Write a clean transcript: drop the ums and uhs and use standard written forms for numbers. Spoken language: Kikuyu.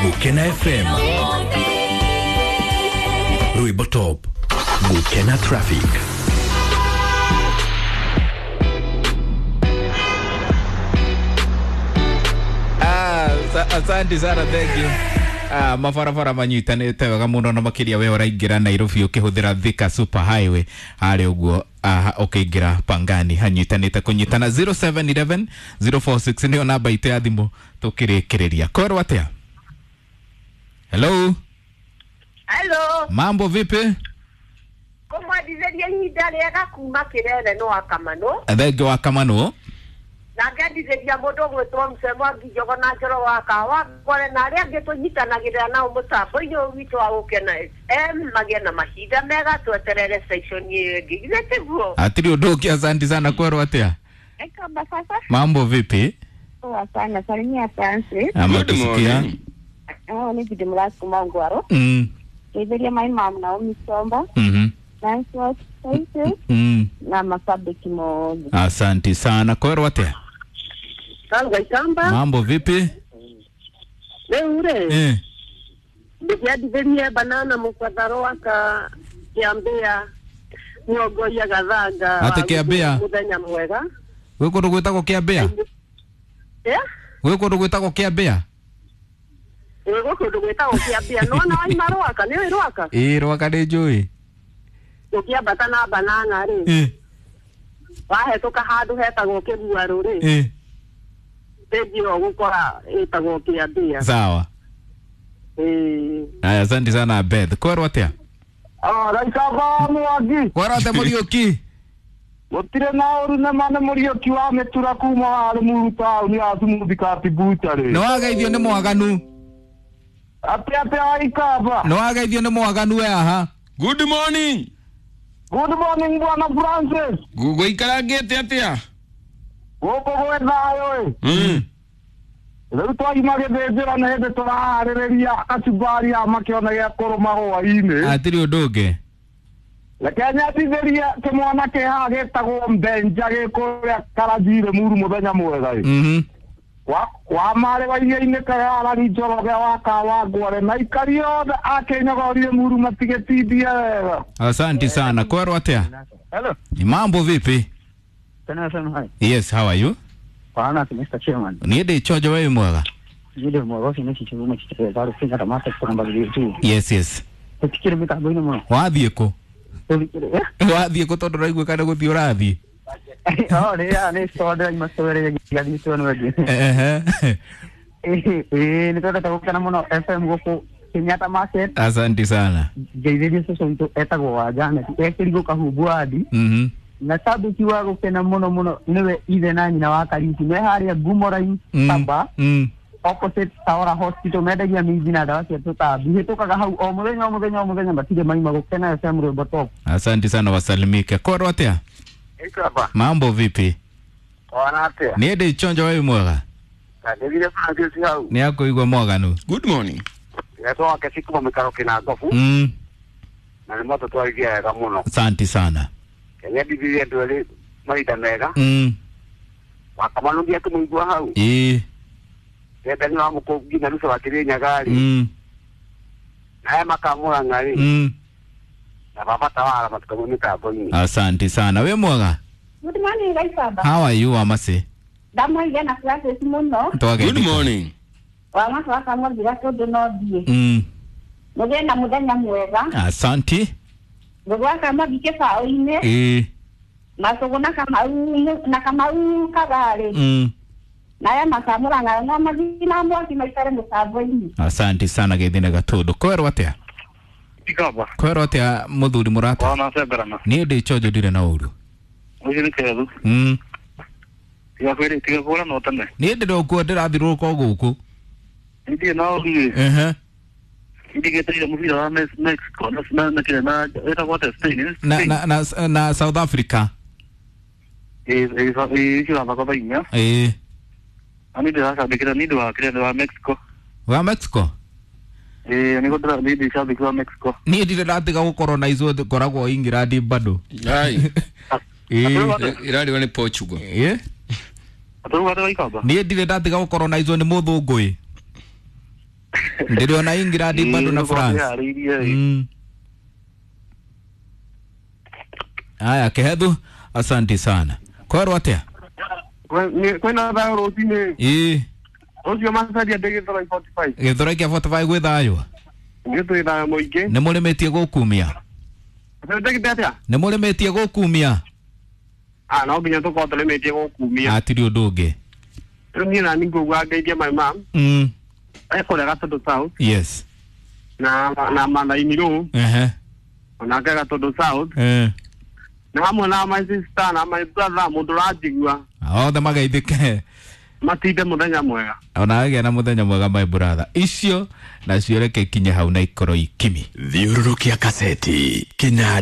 Gukena FM, Rwimbo Top, Gukena Traffic. Asante sana, thank you. Mabarabara manyitanĩte wega mũno na makĩria we ũraingĩra Nairobi ũkĩhũthĩra Thika Super Highway harĩa ũguo ũkĩingĩra Pangani hanyitanĩte kũnyitana. 0711 046 nĩyo namba itũ ya thimũ tũkĩrĩkĩrĩria. Kwerwo atĩa? Hello. Hello. Mambo vipi? Kũmwendithĩria ihinda rĩega kuma Kĩrere no Wakamano. Thengi wa Kamano. Na ngendithĩria mũndũ ũgwĩtwo Mzee Mwangi Njogo na Njoro wa Kahawa Ngware na arĩa angĩ tũnyitanagĩrĩra nao mũtambo-inĩ ũyũ witũ wa Gũkena FM magĩe na mahinda mega, tweterere section ĩyo ĩngĩ. Githĩ tiguo? Hatirĩ ũndũ ũngĩ. Asante sana. Kwerwo atĩa? Kamba sasa. Mambo vipi? Poa sana. Salimia Francis. Ama Good tusikia. morning. Oh, ni Bidi Mlas kuma Ngwaro. Ngeithĩria my mom Naomi Somba. Nancy wa Spaces na mashabiki mothe. Asante sana. Kwerwo atĩa? Kalwa Ikamba. Mambo vipi? Rĩu rĩ, ndĩkĩendithĩrie banana mũbatharo waka Kĩambĩa Nyongoria Gathanga. Atĩ Kĩambĩa? Mũthenya mwega. Gwĩ kũndũ gwĩtagwo Kĩambĩa? Eh? Gwĩ kũndũ gwĩtagwo Kĩambĩa? Ĩ, gwĩ kũndũ gwĩtagwo Kĩambĩa. Nĩwona waima Rwaka, nĩũĩ Rwaka? Ĩĩ, Rwaka nĩ njũĩ. Ũkĩambata na banana rĩ, wahetũka handũ hetagwo Kĩguarũ rĩ, stage ĩyo ũgũkora ĩtagwo Kĩambĩa. Sawa. Ĩĩ. Aya, asante sana Beth. Kwerwo atĩa? Raikaba Mwangi. Kwerwo atĩa Mũriũki? Gũtirĩ na ũru nama nĩ Mũriũki wa mĩtura kuma wa Rũmuru taũni ya Sumuthi Kati Bucharĩ. Nĩ wageithio nĩ mwaganu. Atĩ atĩa Waikamba? Nĩ wageithio nĩ mwaganu we aha. Good morning. Good morning Bwana Francis. Gũikarangĩte atĩa? Gũkũ gwĩ thayũ ĩ. Rĩu twaima gĩthĩnjĩro nĩ hĩndĩ tũraharĩrĩria kachumbari ya makĩona gĩa kũrũma hwaĩ-inĩ. Hatirĩ ũndũ ũngĩ. Reke nyendithĩrie kĩmwana kĩ haha gĩtagwo Mbenja gĩ kũrĩa Karanjirĩ Muru mũthenya mwega ĩ. Wa marĩ wa iria-inĩ Kayarari Njoroge wa Kahawa Ngware na aikari othe a Kĩnyogori Muru matigĩtindie wega. Asante sana. Kwerwo atĩa? Hello. Ni mambo vipi? Tena FM hai. Yes, how are you? Kwana Mr. Chairman. Niĩ ndĩ chonjo, we wĩ mwega? Yule mwagosi ni chichuma chicheza rufinga ta mata kwa namba tu. Yes. Tutikire mitambo-inĩ mũno. Wathiĩ kũ? Tutikire. Wathiĩ kũ tondũ ũraigua kana gũthiĩ ũrathiĩ? Oh, ni ya ni store ndĩraima store gathiĩ store nĩ Ehe. Ĩĩ, nĩ twendete gũkena mũno FM gũkũ Kenyatta Market. Asante sana. Ngeithĩrie cũcũ witũ etagwo wa Janet ekĩrigũ Kahumbu wadi. Na sabiki wa gũkena mũno mũno nĩwe ithe na nyina wa Kariuki me harĩa Ngumo Line Saba opposite Taora Hospital, mendagia minji na ndawa cia tũtambi. Hĩtũkaga hau o mũthenya o mũthenya o mũthenya, matirĩ maima. Gũkena FM Rwimbo Top. Asante sana, wasalimike. Kwerwo atĩa? Ikamba. Mambo vipi? Wana atĩa? Niĩ ndĩ chonjo, we wĩ mwega? Ndĩthire Francis hau. Nĩ akũigua mwaganu. Good morning. Etwo wake cikuma mĩkaro kĩna ngobu. Na nĩ moto twarithia wega mũno. Asante sana. Kenya ndithirie andũ erĩ mahinda mega. Wakamano ngia kũmũigua hau. Ĩĩ. Ndenda nĩ wa mũkũngi na Ruto wa Kĩrĩnyaga rĩ. Na aya makamũrang'a rĩ. Na baba tawara matikamwe mĩtambo-inĩ. Asante sana. Wĩ mwega? Good morning Gaikamba. How are you Wamasi? Ndamũigua na Francis mũno. Twageithĩka. Good morning. Wamasi wa Kamũnjira tondũ no thiĩ. Mũgĩe na mũthenya mwega. Asante. Ngũgĩ wa Kamwangi kĩbaũ-inĩ. Macũgũ na Kamau na Kamau Kagarĩ. Na aya makamũrang'a no mathiĩ na mwaki maikare mũtambo-inĩ. Asante sana Gĩthina Gatũndũ. Kwerwo atĩa? Ikamba. Kwerwo atĩa mũthuri mũrata? Wana seberana. Niĩ ndĩ chonjo ndirĩ na ũru. Ũcio nĩ kĩethu. Tiga kwĩrĩ tiga kũra no tene. Niĩ ndĩrĩ okuo ndĩrathiũrũrũka o gũkũ. Ndirĩ na ũru. Ehe. Ndigĩteire mũbira wa Mexico na na kĩrĩa na ĩtagwo atĩa Spain. Na na na na South Africa. Ĩĩ ĩĩ icio thako thaa inya. Ĩĩ. Na niĩ ndĩracambĩkĩra nĩ ũndũ wa kĩrĩa wa Mexico. Wa Mexico? Ĩĩ nĩguo ndĩra niĩ ndĩ cambĩki wa Mexico. Niĩ ndirĩ ndatiga gũkorwo na icio ngoragwo England bado. Ai. Ĩĩ. Ĩrarĩwa nĩ Portugal. Ĩĩ. Atũruga atĩa Waikamba? Niĩ ndirĩ ndatiga gũkorwo na icio nĩ mũthũngũ ĩ. Ndĩrĩona England bado na France. Aya Kehethu, asante sana. Kwerwo atia? Kwĩna thayũ rũcinĩ. Ĩĩ. Ũcio macaria ndĩ Gĩthũrai 45. Gĩthũrai kĩa 45 gwĩ thayũ. Nĩ twĩ thayũ mũingĩ. Nĩ mũrĩmĩtie gũkumia. Ndĩgĩte atĩa? Nĩ mũrĩmĩtie gũkumia. Ah, no nginya tũkorwo tũrĩmĩtie gũkumia. Hatirĩ ũndũ ũngĩ. Rĩu niĩ nani ngũgua ngeithie my mom. Ekũrĩa Gatũndũ South. Yes. Na Mathaini Rũ. Ehe. Onake Gatũndũ South. Eh. Na hamwe na my sister na my brother mũndũ ũranjigua. Othe mageithĩke. Matinde mũthenya mwega. Ona agĩa na mũthenya mwega my brother. Icio nacio reke ikinye hau na ikorwo ikimi. Thiũrũrũkia kaseti kĩnanda.